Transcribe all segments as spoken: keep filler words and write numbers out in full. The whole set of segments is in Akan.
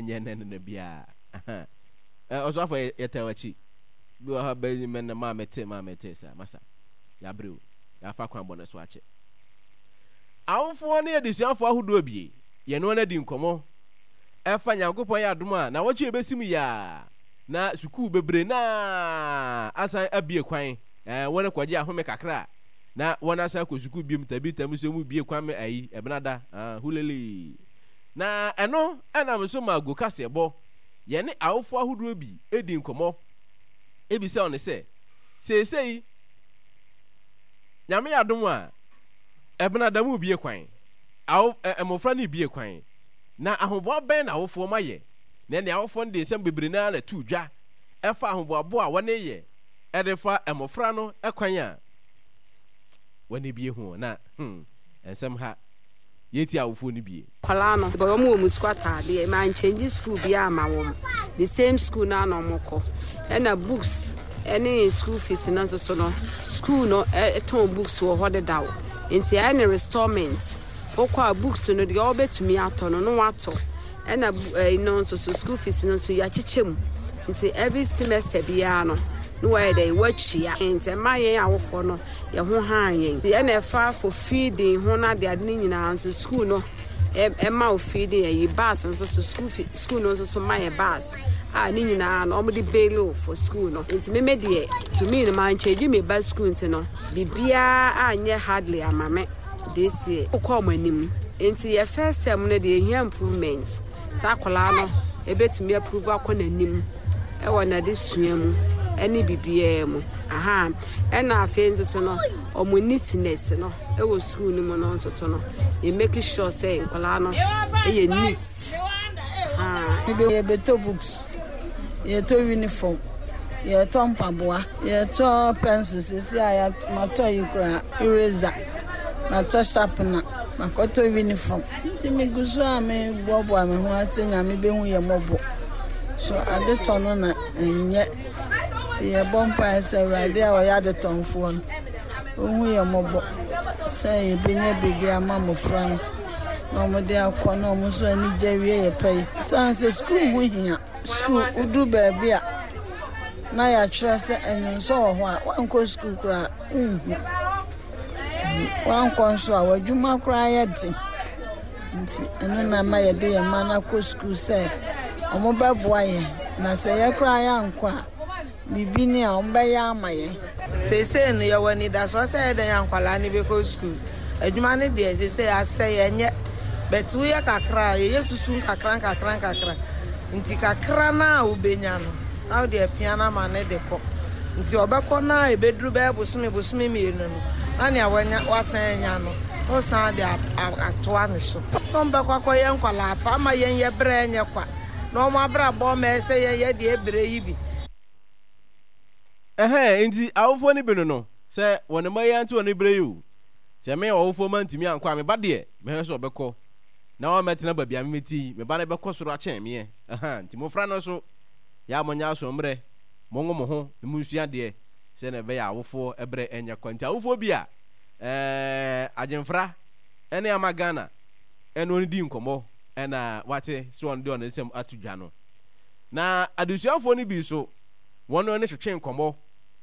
Nyɛ nnɛ ne da biara. Ɔsɔfo yɛtaa w'akyi. Bi wɔ hɔ a bɛyi mɛ na maa mete maa mete saa masa. Yɛabrɛ o. Yɛafa kwan bɔne so akyɛ. Awofoɔ ne adesuafoɔ ahodoɔ bie yɛne wɔn adi nkɔmmɔ ɛfa Nyankopɔn yɛ adom a nawɔtwe ɛbɛsi mu yi ara na sukuu bebree no ara asan abue kwan ɛɛ wɔn kɔgye ahome kakra a na wɔn asan akɔ sukuu biom tabi tam so mu bue kwan me ayi ɛbenada ah hulele na ɛno ɛnam so ma go kaseɛbɔ yɛne awofoɔ ahodoɔ bi edi nkɔmmɔ ebisa wɔn sɛ seesei Nyame yɛ adom a ɛbenada mu bue kwan awo ɛ mmofra no rebue kwan na ahoboa bɛn na awofoɔ ma yɛ na ɛne awofoɔ no de nsɛm bebree no ara na ɛtoo dwa ɛfa ahoboaboa a wɔne yɛ ɛde fa mmofra no kwan a wɔne bie ho na hmm nsɛm ha yɛtie awofoɔ no bie. Nkwadaa no, wɔn wɔ wɔn sukuu ataadeɛ. Mankyɛngye sukuu biara amma wɔn. The same school no ara na wɔkɔ. Ɛna books ne school fees no nso so no, school no tɔn books wɔ hɔ dedaw. Nti ɛyɛ no restallment. Wokɔ a books no deɛ wobɛtumi atɔ no na woatɔ. Ɛna ɛyi no nso so school fees no nso yɛakyekyɛ mu. Nti every semester biara no na wɔayɛ dɛ wɔatua. Nti ɛma yɛn awofoɔ no yɛn ho haa yɛn. Ɛna ɛfa for feeding ho no ade ade no nyinaa nso school no ɛma wo feeding ɛyi bus nso so school fee school no nso so ma yɛ bus a ne nyinaa no wɔn de bail for school no. Nti meme deɛ to me no man change me ba school nti no biribiara anyɛ hardly ama me this year. Wokɔ wɔn anim nti yɛ first term no deɛ ehia improvement saa akwadaa no ebetumi approve akɔ n'anim ɛwɔ n'adesua mu ɛne biribiara mu aha ɛna afei nso so no wɔn neatness no ɛwɔ school no mu no nso so no yɛ make sure sɛ nkwadaa no ɛyɛ neat. Yɛbɛtɔ books, yɛtɔ uniform, yɛtɔ mpaboa, yɛtɔ pencil sisi a matɔ yi koraa eraser, matɔ sharpener, makɔtɔ uniform. Nti megu so a meboaboa me ho ase Nyame bɛhu yɛ mmɔbɔ. So adetɔ no na ɛnyɛ. Nti yɛbɔ mpaeɛ sɛ Awurade a ɔyɛ adetɔnfoɔ no, ɔhu yɛ mmɔbɔ sɛ yɛbɛnya bi de ama mmɔfra no na wɔde akɔ na wɔn nso ani gye awie yɛ pɛ yi. Sane sɛ sukuu ho hia. Sukuu wodu baabi a na yɛatwerɛ sɛ ɛnwonsɔ wɔ hɔ a woankɔ sukuu koraa wonhu. Woankɔ nso a w'adwuma koraa yɛ den. Nti ɛno na ama yɛde yɛn mma no akɔ sukuu sɛ wɔn bɛboa yɛn na sɛ yɛ koraa yɛankɔ a biribi ni a wɔn bɛyɛ ama yɛn. Seesei no yɛwɔ anidasoɔ sɛ yɛdɛn a nkwadaa no bɛkɔ sukuu. Adwuma no deɛ seesei asɛ yɛnyɛ but woyɛ kakra a yɛyɛ susu nkakra nkakra nkakra nti kakra no a wobɛnya no na wode apia no ama no de kɔ nti ɔbɛkɔ no a ɛbɛduru bɛyɛ bosome bosome mmienu no na nea wanya wasan anya no na wosan de atoa ne so. Sɛ ɔmbɛkɔ akɔyɛ nkwadaa pa ama yɛn yɛ berɛ nyɛ kwa na ɔmo abrabɔ ma ɛsɛ yɛn yɛ deɛ ɛberɛ yi bi. Ɛhɛn nti awofoɔ no bi no no sɛ wɔn mma yi ante wɔn berɛ yi o sɛ me ɔwofoɔ ma ntumi ankɔ a me ba deɛ mɛhwɛ sɛ ɔbɛkɔ na wammɛtena baabi a memete yi me ba no bɛkɔ soro akyɛn meɛ ɛhɛn nti mmɔfra no nso yɛ a monyɛ asoɔmmerɛ mongo mo ho na monsua adeɛ sɛ na ɛbɛyɛ awofoɔ ɛberɛ ɛnyɛ kwa nti awofoɔ bi a ɛɛ agyemfra ɛne ama Ghana ɛne wɔn di nkɔmmɔ ɛna wate sɛ wɔn de wɔn nsɛm ato dwa no na adesuafoɔ no bi nso wɔn ne twetwe nkɔmmɔ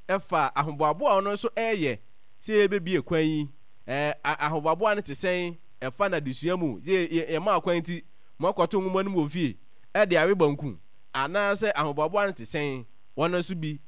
ɛfa ahoboaboa a ɔno nso ɛreyɛ sɛ yɛbɛbie kwan yi ɛɛ ahoboaboa no te sɛn ɛfa n'adesua mu sɛ yɛma kwan nti mo akɔto nwoma no mu wɔ fie ɛde awe banku anaasɛ ahoboaboa no te sɛn wɔn nso bi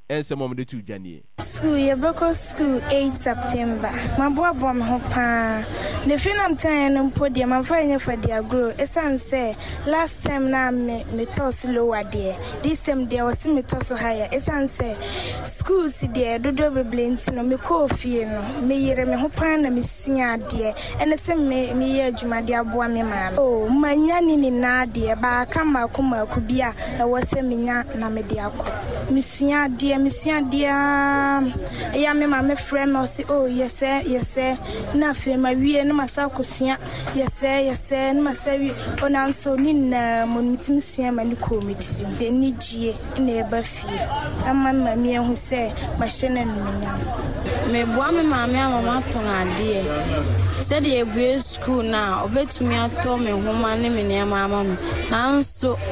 nsɛm a wɔde to dwa nie. School yɛbɛkɔ school eight September. Maboaboa me ho paa. Na fie na metenaeɛ no mpo deɛ mamfa anyɛ fadi agorɔ ɛsiane sɛ last term na me metɔɔ so lower deɛ this term deɛ wɔse metɔ so higher ɛsiane sɛ schools deɛ dodoɔ bebree nti no mekɔɔ fie no meyere me ho paa na mesua adeɛ ɛne sɛ me meyɛ adwuma de aboa me maame. Oh, manya ne nyinaa deɛ baaka mmaako mmaako bi a ɛwɔ sɛ menya na mede akɔ. Mesua adeɛ mesua adeɛ aa ɛyɛ a me maame frɛ me ɔse oh yɛsɛ yɛsɛ na afei mawie na masa akɔsua yɛsɛ yɛsɛ na masa wie o nanso ne nyinaa mu no metumi sua ma ne kɔɔ me tirim. Anigye na ɛba fie ama me maame ahu sɛ mahyɛ no animuonyam. Meboa me maame ama matɔn adeɛ sɛdeɛ ebue sukuu no a ɔbɛtumi atɔ me nhoma ne me nneɛma ama me nanso